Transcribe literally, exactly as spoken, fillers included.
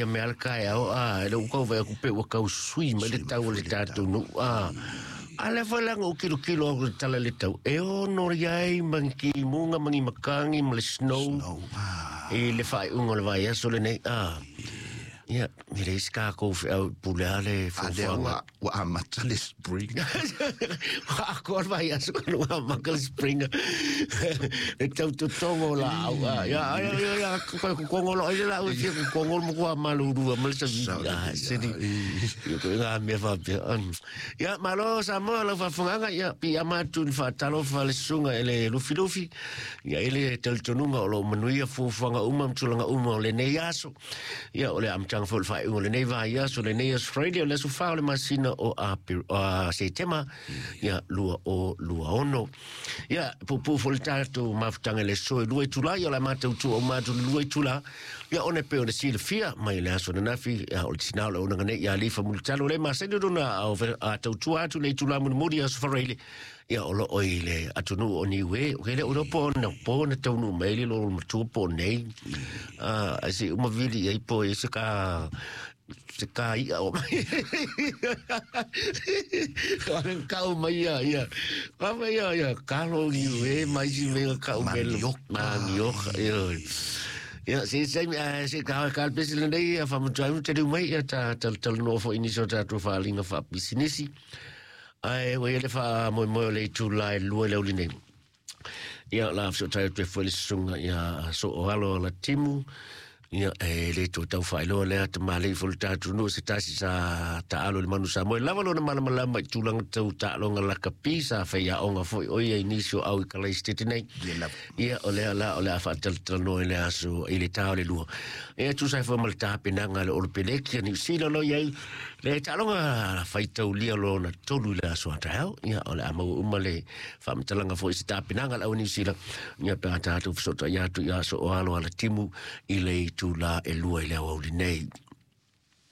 ia mea le taeao a e le ua tau vaai atu pe ua tau sui mai le tau o le tatou nuu a. A lea foi la na ou kilokilo atu i le tala i le tau e ono i ai ma ni timuga ma ni makagi ma le snow Snow. Ah. i le faaiuga o le vaiaso lenei a. Ia, e leai se tatou feau i pule a le A lea fuafuaga. ua ua amata le spring. Ua atoa le vaiaso ka ua amata le spring. Le tau totogo o laau a. Ia, ia, ia, ia, kokogo loa i le laau e fia kokogo le matua malulua ma le savili. Ah, seni. Ia, ko ngā mea faapea. Ia, malo Samoa lau faafofogaaga, ia, piiama atu i le faatalofa le susuga e le Lufilufi. Ia, i le talitonuga o loo manuia fuafuaga uma ma tulaga uma o lenei aso. Ia, o le amataga foi o le faaiuga o lenei vaiaso, lenei aso Friday, o le aso fa o le masina o Apil, o Setema, ia, lua o lua ono. Ia, puupuu foi le tatou mafutaga i le aso e lua itula, ia, o le a matautu uma atu le lua itula. Ia, ona e pei ona silafia mai le aso ananafi, ia, o le tinā o le auaunaga nei ia Alifa Mulitalo le masani lona a tautua atu le itula mulimuli aso Faraile. Ia, o loo i le atunuu o Niue, o ke le o po na po na taunuu mai le lolo matua po nei. Ah, ai se uma vili ai po e se ka se ka ia o mai. Ka kau mai ia, ia. Ka mai ia, ia, kalo Niue mai si mea kau mele. Manioka. Manioka, ia. Ia, se se se ka ka pesi lenei ia faamatua ai te mai ia ta ta talanoa foi nisi o tatou faaaliga faapisinisi. Ae ua i ai le faamoemoe o le itula e lua i le aoauli nei. Ia, o le a fesootai atu ai foi le susuga ia Sooalo Alatimu. Ia, e le toe tau faailoa lea tamalii foi le tatou nuu se tasi sa taalo i le manu Samoa. E lava lona malamalama i tulaga tau taaloga lakapi sa faiaoga foi o ia i nisi o au i Kalaisitete nei. Ia lava. Ia, o lea la o le a faatalatalanoa i le aso i le tā o le lua. Ia, tusa ai foi ma le tapenaga a le Olopeleki a Niu Sila o lo o i ai le taaloga faitaulia lona tolu i le aso a taeao. Ia, o le a maua uma le faamatalaga foi i se tapenaga a le au Niu Sila. Ia, pe a tatou fesootai atu ia Sooalo Alatimu i le itula e lua i le aoauli nei.